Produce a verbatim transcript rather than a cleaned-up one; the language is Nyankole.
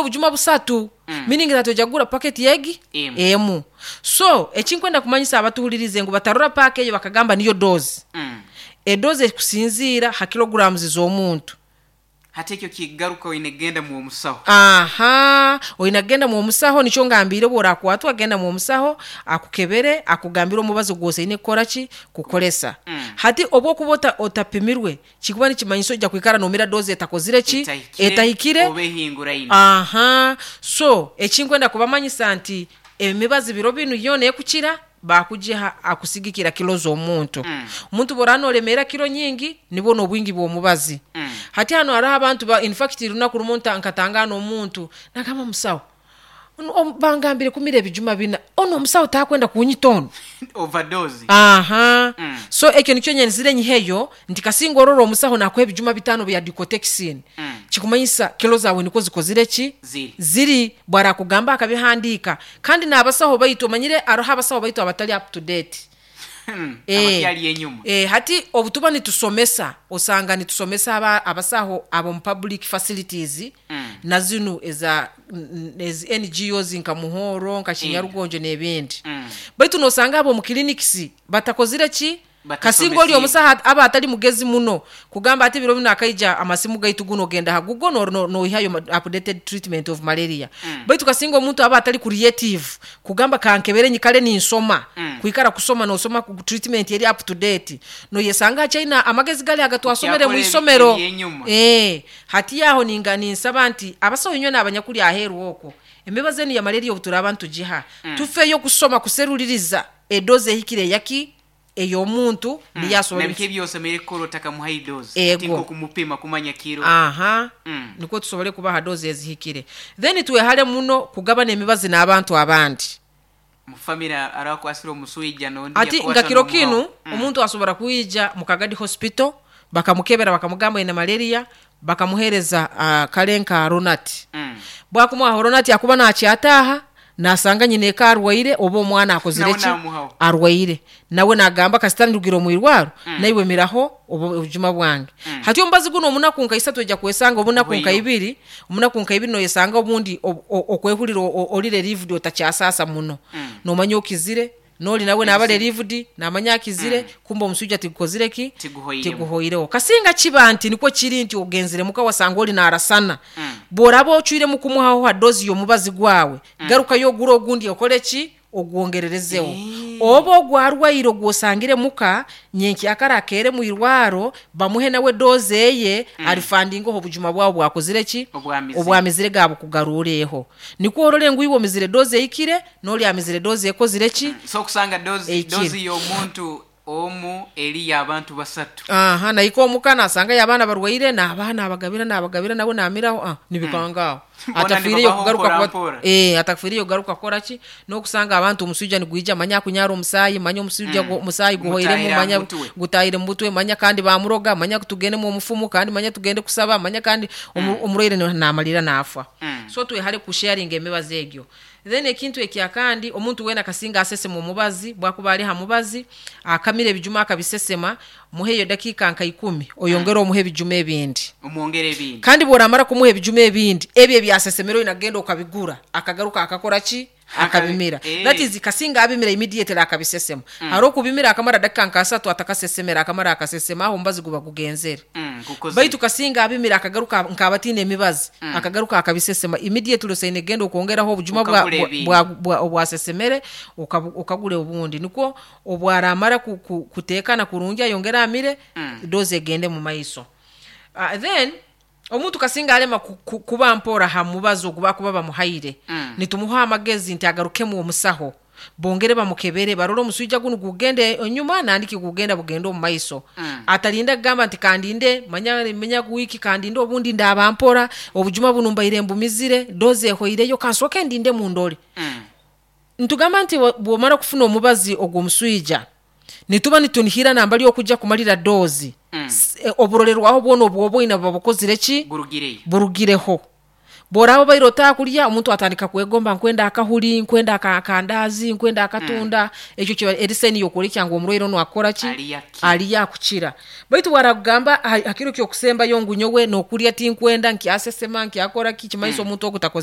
Obujuma busatu, Mm. meaning that ojja kugura paketi egi Emu. emu. So ekinkwenda kumanyisa abatuhuririze ngu batarora paaka eyo bakagamba niyo dose. Mm. Edoze ekusinziira ha kilograms z'omuntu. Hati ekyo kigaruka oine kugenda mu omusaho. Aha, oine kugenda mu omusaho. Nikyo ngambiire, bworakwatwa genda mu omusaho akukebere, akugambire omubazi gwosaine kukora ki, kukoresa. Mm. Hati obwokuba ota, otapimirwe, kikuba nikimanyisa ojja kwikara nomira doze etakozire ki, etahikire, etahikire oba ehinguraine. Aha, so ekinkwenda kubamanyisa nti emibazi biro binu yoona ekukira bakugiha akusigikira kilo z'omuntu. Mm. Omuntu bworaba noremeera kilo nyingi, nibwo n'obwingi bw'omubazi. Mm. Hati hano hariho abantu ba, in fact runaku rumu nta- nkatangana omuntu nagamba, "Musawo, ono- om- bangambire kumira ebijuma bina, ono omusawo takwenda kunyita ono?" Overdose. Aha. Mm. So ekyo nikyo nyenzire nyiheyo nti kasinga orora omusaho nakuha ebijuma bitano bya dicotexin, Mm. kikumanyisa kilo zawe niko zikozire ki, ziri. Ziri. Bwarakugamba akabihandiika. Kandi n'abasaho baitu, omanyire aroho abasaho baitu abatali up to date. Mm. Eh. Abakyali enyuma. Eh, hati obutuba nitusomesa, osanga nitusomesa aba, abasaho abo mu public facilities Mm. na zinu eza n- ezi N G Os nka Muhoro, nka Kinyarugonjo n'ebindi. Mm. Baitu nosanga abo mu clinics batakozire ki, kasinga oli Batasomesiibwe. omusaha aba atali mugezi muno kugamba ati biro bino akaija amasimu gaitu guno, ogenda ha Google no- no- noihayo ma- updated treatment of malaria. Mm. Baitu kasinga omuntu aba atali creative kugamba kankebere nyikale ninsoma, Mm. kwikara kusoma nosoma ku treatment eri up to date, noyesanga achaina amagezi gali agatwasomere Kyakora mu ebi- isomero. ebyenyuma. Eh, hati yaho ninga ninsaba nti abasawo inywe n'abanyakuli aheeru okwo, emibazi enu ya malaria obuturaba ntugiha, Mm. tufeeyo kusoma kuseruliriza edoze ehikire eyaki ey'omuntu niyo asobora. Nabiki ebyosemere kukora otakamuha idozi? Ego. Ati nk'okumupima kumanya kiro. Aha. Mm. Nikwo tusobole kubaha dozi ezihikire. Then twehale muno kugabana emibazi n'abantu abandi. Mufamire arakwasira omuswija nondi Ati yakwata nga kiro n'omuhawo. kinu Mm. omuntu asobora kwija mu Kagadi Hospital, bakamukebera, bakamugamba ine malaria, bakamuhereza uh, kale nka Ronat. Mm. Bwakumuha Ronat, akuba nakyataaha nasanga nyina eka arwaire oba omwana akozire Nawe ki, namuhaho. arwaire, nawe nagamba kasita ndugira omwirwaro, Mm. naiwe miraho obu- obujuma bwange. Mm. Hati omubazi guno omunaku nka isatu ojja kwesanga obunaku nka Bwiyo. ibiri, omunaku nka ibiri noyesanga obundi ob- o- okwehurira o- o- oli relieved, otakyasasa muno. Mm. Nomanya okizire, noli nawe naba Ebisi- relieved, namanya akizire. Kumba omusujja tigukozire ki, Tiguhoiremu. tiguhoireho. Kasinga kiba nti nikwo kiri nti ogenzire muka wasanga oli narasana, Mm. bw'oraba ocwiremu kumuhaho ha dozi y'omubazi gwawe, garukayo ogura ogundi, okole ki, ogwongererezeho. Eh. Oba ogwarwaire ogwosangire muka, nyenkyakara akere mwirwaro bamuhe nawe doze eye, mm. alifandingaho obujuma bwawe bwakozire ki, Obwamizire. Obwamizire gabukugarureho. Nikwo orole ngu iwe omizire doze eyikire, n'oli amizire doze ekozire ki. So okusanga dozi Ekiro. Dozi y'omuntu omu eri y'abantu basatu. Aha, naika omuka nasanga y'abaana barwaire, n'abaana abagabira nabagabira, nawe namiraho, ah, nibikangaaho. Bona Atafiireyo nibabaho kugaruka mpora kuba- mpora. eh, atafiireyo kugaruka kukora ki, n'okusanga abantu omusujja nigwija, manya akunyara omusaayi, manya omusujja Mm. mm. omusaayi guhoiremu, Gutahire manya aha mutwe. gutahire mu mutwe, manya kandi bamuroga, manya tugendemu omufumu, kandi manya tugende kusaba, manya kandi omu- omurwaire mm. namalira nafa. Mm. So twehale kusharinga emibazi egyo. Then ekintu ekyakandi, omuntu wena kasinga asesema omubazi, bwakuba ali ha mubazi akamira ebijuma akabisesema, muheyo dakiika nka ikumi, oyongere omuhe ebijuma ebindi. Omwongere ebindi. Kandi bworamara kumuha ebijuma ebindi, ebyo ebyasesemere oyina okabigura, akagaruka akakora ki, akabimira. Eh. That is, kasinga abimira immediately akabisesema. mm. Hari okubimira akamara dakika nka asatu atakasesemera, akamara akasesema, aho omubazi guba gugenzere. Mm, gukoze. Baitu kasinga abimira akagaruka nk'abatiina emibazi, mm. akagaruka akabisesema immediately, osaine genda okwongeraho obujuma bwa- Ukagura bwa- ebindi. bwa- bwa- obwasesemere, ukabu- ukagura obundi, nikwo obwaramara ku- ku- kuteekana kurungi, ayongere amire, Mm. dozi egende mu maiso. uh, then omuntu kasinga alema ku- ku- kuba mpora ha mubazi ogu bakuba bamuhaire, Mm. nitumuha amagezi nti agarukemu omusaho, bongere bamukebere, barole omuswija guno gugende enyuma nandiki gugenda bugende omu maiso. Mm. Atalinda kugamba nti kandinde manya manya wiki, kandinde obundi ndaba mpora, obujuma buno mbaire mbumizire, dozi ehoireyo, kansooke ndinde mundole. Mm. Ntugamba nti bwo- bwomara kufuna omubazi ogw'omuswija, nituba nitunihira nambali okujja kumalira dozi, Mm. S- eh, oburolerwaho bwona obwoba oina buba bukozire ki, Burugireyo. Burugireho. Bworaba baire otakurya, omuntu atandika kwegomba, nkwenda akahuri, nkwenda aka- akandazi, nkwenda akatunda. Ekyo kiba eri sign yokwolekya ngu omurwaire onu akora ki, Ali yakira. ali yakukira. Baitu bwarakugamba ha- hakiro kyokusembayo ngu nyowe nokurya tinkwenda, nkyasesema, nkyakora ki, kimanyisa omuntu ogu takoze.